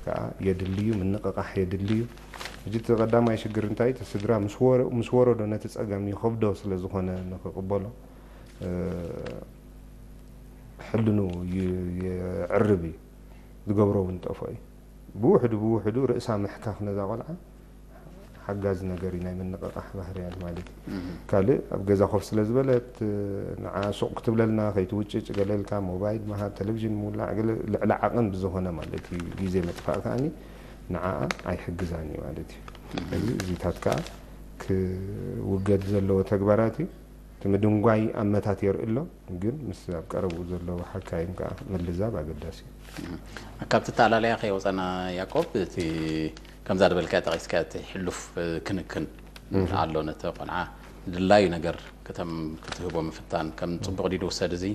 ከዓ የድልዩ፣ ምንቕቓሕ የድልዩ። ሕጂ እቲ ቀዳማይ ሽግር እንታይ? እቲ ስድራ ምስ ወረ-፣ ምስ ወረዶ ነቲ ጸገም ይኸብዶ ስለ ዝኾነ ንኽቕበሎ፣ እ፣ ሕልኑ ይ-፣ የዕርብ እዩ። ዝገብሮ እውን ጠፍኦ እዩ። ብውሕዱ ብውሕዱ ርእሳ ምሕካኽ ነዛ ቆልዓ ሓጋዚ ነገር እዩ፣ ናይ ምንቕቓሕ ባህርያት ማለት እዩ። ካልእ ኣብ ገዛ ኮፍ ስለ ዝበለት፣ ንዓ ሱቕ ክትብለልና ከይትውጭጭ ገለ ኢልካ ሞባይል ምሃብ፣ ቴሌቪዥን ምውላዕ፣ ገለ ልዕሊ ዓቐን ብዝኾነ ማለት እዩ ግዜ ምጥፋእ ከኣኒ ንዓኣ ኣይሕግዛን እዩ ማለት እዩ። እዚ እዚታት ከኣ ክውገድ ዘለዎ ተግባራት እዩ። እቲ ምድንጓይ ኣመታት የርኢ ኣሎ፣ ግን ምስ ኣብ ቀረብኡ ዘለዉ ሓካይም ከኣ ምልዛብ ኣገዳሲ እዩ። ካብቲ ኣተኣላልያ ከይወፀና ያቆብ፣ እቲ ከምዛ ዝበልካ ጠቂስካ እቲ ሕሉፍ ክንክን ኣሎ፣ ነቲ ቆልዓ ድላዩ ነገር ክተም ክትህቦ ምፍታን ከም ፅቡቅ ድዩ ዝውሰድ እዚ?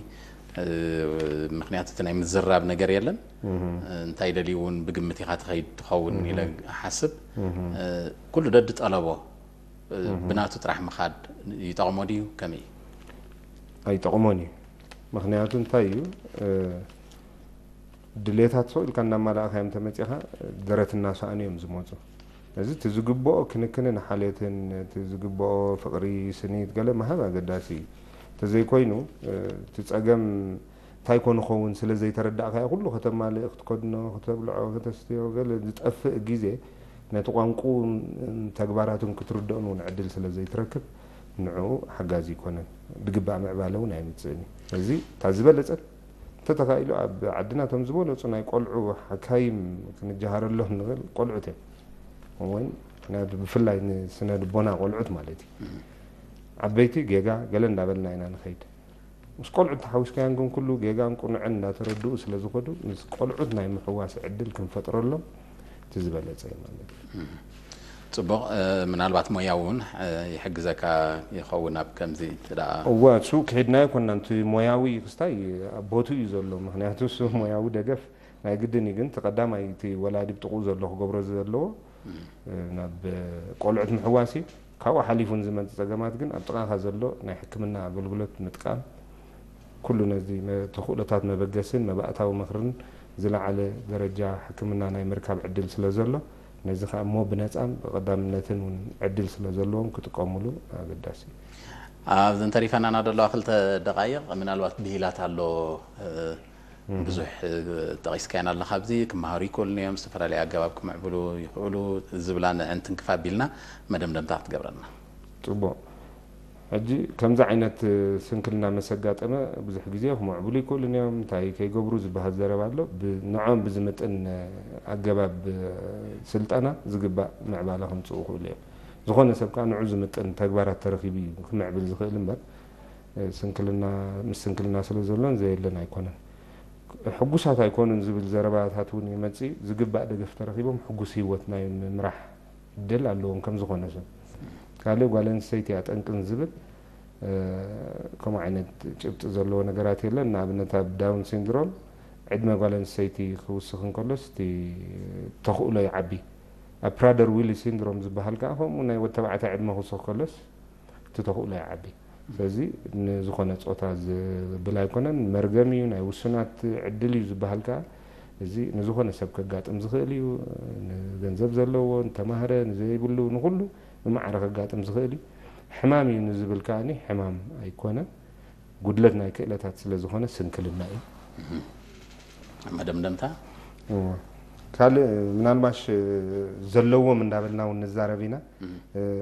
ምክንያቱ እቲ ናይ ምዝራብ ነገር የለን። እንታይ ደልዩ እውን ብግምት ኢካ ትኸይድ ትኸውን ኢለ እሓስብ። ኩሉ ደዲ ጠለቦ ብናቱ ጥራሕ ምኻድ ይጠቕሞ ድዩ? ከመይ እዩ? ኣይጠቕሞን እዩ። ምክንያቱ እንታይ እዩ? ድሌታት ሰው ኢልካ እናማላእካዮም ተመፂኻ ደረት እናሰኣኑ እዮም ዝመፁ። እዚ እቲ ዝግብኦ ክንክንን ሓልዮትን፣ እቲ ዝግብኦ ፍቕሪ፣ ስኒት፣ ገለ ምሃብ ኣገዳሲ እዩ። እንተዘይኮይኑ እቲ ፀገም እንታይ ኮን ይኸውን ስለ ዘይተረዳእካዮ ኩሉ ከተማልእ፣ ክትከድኖ፣ ክተብልዖ፣ ከተስትዮ፣ ገለ ዝጠፍእ ግዜ ነቲ ቋንቁን ተግባራቱን ክትርድኦን እውን ዕድል ስለ ዘይትረክብ ንዕኡ ሓጋዚ ይኮነን። ብግባእ ምዕባለ እውን ኣይምፅእን እዩ። እዚ እታ ዝበለፀት እንተተኻኢሉ ኣብ ዓድና እቶም ዝበለፁ ናይ ቆልዑ ሓካይም ክንጀሃረሎም ንኽእል ቆልዑት እዮም። ወይ ናይ ብፍላይ ንስነ ልቦና ቆልዑት ማለት እዩ። ዓበይቲ ጌጋ ገለ እንዳበልና ኢና ንኸይድ። ምስ ቆልዑት ተሓዊስካያን ግን ኩሉ ጌጋን ቁኑዕን እንዳተረድኡ ስለ ዝኸዱ ምስ ቆልዑት ናይ ምሕዋስ ዕድል ክንፈጥረሎም እቲ ዝበለፀ እዩ ማለት እዩ። ፅቡቕ። ምናልባት ሞያዊ እውን ይሕግዘካ ይኸውን ኣብ ከምዚ እንተ ደኣ እወ እሱ ክሒድናዮ ኮና። እቲ ሞያዊ ክስታይ ኣብ ቦቱ እዩ ዘሎ። ምክንያቱ እሱ ሞያዊ ደገፍ ናይ ግድን እዩ። ግን እቲ ቀዳማይ እቲ ወላዲ ብጥቕኡ ዘሎ ክገብሮ ዘለዎ ናብ ቆልዑት ምሕዋስ እዩ። ካብኡ ሓሊፉ ንዝመፅእ ፀገማት ግን ኣብ ጥቓኻ ዘሎ ናይ ሕክምና ኣገልግሎት ምጥቃም፣ ኩሉ ነዚ መ-፣ ተኽእሎታት መበገስን መባእታዊ ምኽርን ዝለዓለ ደረጃ ሕክምና ናይ ምርካብ ዕድል ስለ ዘሎ፣ ነዚ ከኣ እሞ ብነፃን ብቐዳምነትን እውን ዕድል ስለ ዘለዎም ክጥቀሙሉ ኣገዳሲ እዩ። ኣብዚ እንተሪፈናና ዘለዋ ክልተ ደቃይቕ ምናልባት ብሂላት ኣሎ። ብዙሕ ጠቒስካየን ኣለኻ። ኣብዚ ክመሃሩ ይክእሉን እዮም፣ ዝተፈላለዩ ኣገባብ ክምዕብሉ ይኽእሉ ዝብላ ንዕን ትንክፍ ኣቢልና መደምደምታ ክትገብረልና። ፅቡቕ። ሕጂ ከምዚ ዓይነት ስንክልና መሰጋጠመ ብዙሕ ግዜ ክምዕብሉ ይክእሉን እዮም፣ እንታይ ከይገብሩ ዝበሃል ዘረባ ኣሎ። ብ-፣ ንዖም ብዝምጥን ኣገባብ ስልጠና ዝግባእ ምዕባለ ከምፅኡ ይኽእሉ እዮም። ዝኾነ ሰብ ከዓ ንዑ ዝምጥን ተግባራት ተረኺቡ እዩ ክምዕብል ዝኽእል እምበር፣ ስንክልና፣ ምስ ስንክልና ስለ ዘሎን ዘየለን ኣይኮነን። ሕጉሳት ኣይኮኑን ዝብል ዘረባታት እውን ይመፅእ። ዝግባእ ደገፍ ተረኺቦም ሕጉስ ህይወት ናይ ምምራሕ ዕድል ኣለዎም ከም ዝኾነ ሰብ። ካልእ ጓል ኣንስተይቲ እያ ጠንቅን ዝብል፣ እ፣ ከምኡ ዓይነት ጭብጢ ዘለዎ ነገራት የለን። ንኣብነት ኣብ ዳውን ሲንድሮም ዕድመ ጓል ኣንስተይቲ ክውስኽ እንከሎስ እቲ ተኽእሎ ይዓቢ። ኣብ ፕራደር ዊሊ ሲንድሮም ዝበሃል ከዓ ከምኡ ናይ ወዲ ተባዕታይ ዕድመ ክውስኽ ከሎስ እቲ ተኽእሎ ይዓቢ። ስለዚ ንዝኾነ ጾታ ዝብል ኣይኮነን፣ መርገም እዩ፣ ናይ ውሱናት ዕድል እዩ ዝበሃል ከዓ እዚ ንዝኾነ ሰብ ከጋጥም ዝኽእል እዩ። ንገንዘብ ዘለዎ፣ ንተማህረ፣ ንዘይብሉ፣ ንኹሉ ብማዕረ ከጋጥም ዝኽእል እዩ። ሕማም እዩ ንዝብል ከኣኒ ሕማም ኣይኮነን፣ ጉድለት ናይ ክእለታት ስለ ዝኾነ ስንክልና እዩ። መደምደምታ? እዎ። ካልእ ምናልባሽ ዘለዎም እንዳበልና እውን ንዛረብ ኢና።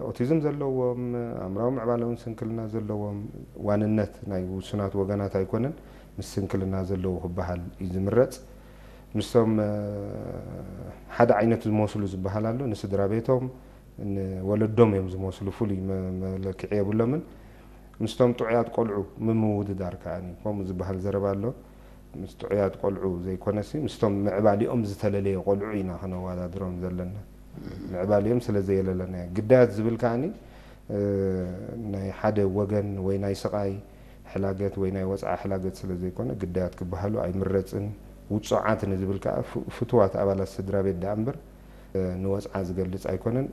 ኦቲዝም ዘለዎም፣ ኣእምራዊ ምዕባለውን ስንክልና ዘለዎም ዋንነት ናይ ውሱናት ወገናት ኣይኮነን፣ ምስ ስንክልና ዘለዉ ክበሃል እዩ ዝምረፅ። ምስቶም ሓደ ዓይነት ዝመስሉ ዝበሃል ኣሎ፣ ንስድራ ቤቶም፣ ንወለዶም እዮም ዝመስሉ፣ ፍሉይ መ-፣ መለክዒ የብሎምን። ምስቶም ጥዑያት ቆልዑ ምምውድዳር ከኣ ከምኡ ዝበሃል ዘረባ ኣሎ። ምስ ጥዑያት ቆልዑ ዘይኮነሲ ምስቶም ምዕባሊኦም ዝተለለየ ቆልዑ ኢና ከነወዳድሮም ዘለና። ምዕባሊኦም ስለ ዘየለለና እዩ። ግዳያት ዝብል ከኣ ናይ ሓደ ወገን ወይ ናይ ስቓይ ሕላገት ወይ ናይ ወፅዓ ሕላገት ስለ ዘይኮነ ግዳያት ክበሃሉ ኣይምረፅን። ውፁዓት ንዝብል ከኣ ፍ-፣ ፍቱዋት ኣባላት ስድራ ቤት ደኣ እምበር ንወፅዓ ዝገልፅ ኣይኮነን።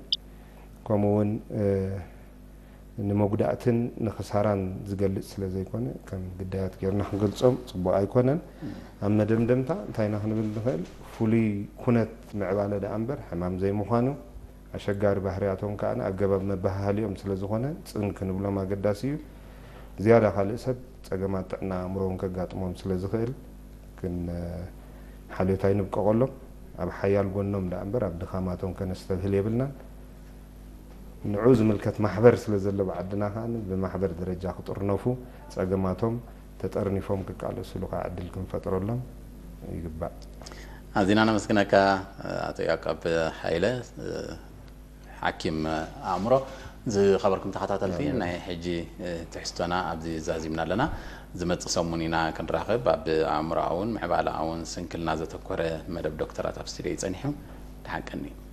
ከምኡ እውን ንመጉዳእትን ንኽሳራን ዝገልጽ ስለ ዘይኮነ፣ ከም ግዳያት ጌርና ክንገልጾም ጽቡቕ ኣይኮነን። ኣብ መደምደምታ እንታይ ኢና ክንብል ንኽእል? ፍሉይ ኩነት ምዕባለ ደኣ እምበር ሕማም ዘይምዃኑ፣ ኣሸጋሪ ባህርያቶም ከኣ ኣገባብ መበሃህሊኦም ስለ ዝኾነ ጽን ክንብሎም ኣገዳሲ እዩ። ዝያዳ ካልእ ሰብ ጸገማት ጥዕና ኣእምሮ እውን ከጋጥሞም ስለ ዝኽእል ክን-፣ ሓልዮት ኣይንብቀቐሎም። ኣብ ሓያል ጎኖም ደኣ እምበር ኣብ ድኻማቶም ከነስተብህል የብልናን። ንዑ ዝምልከት ማሕበር ስለ ዘሎ ብዓድና ከኣ ብማሕበር ደረጃ ክጥርነፉ፣ ጸገማቶም ተጠርኒፎም ክቃለሱሉ ከኣ ዕድል ክንፈጥረሎም ይግባእ። ኣዚና ነመስግነካ ኣቶ ያዕቆብ ሃይለ፣ ሓኪም ኣእምሮ። ዝኸበርኩም ተኸታተልቲ፣ ናይ ሕጂ ትሕዝቶና ኣብዚ ዛዚምና ኣለና። ዝመጽእ ሰሙን ኢና ክንራኸብ። ኣብ ኣእምሮኣውን ምዕባለኣውን ስንክልና ዘተኮረ መደብ ዶክተራት ኣብ ስቱድዮ እዩ ጸኒሑ። ደሓን ቀኒ።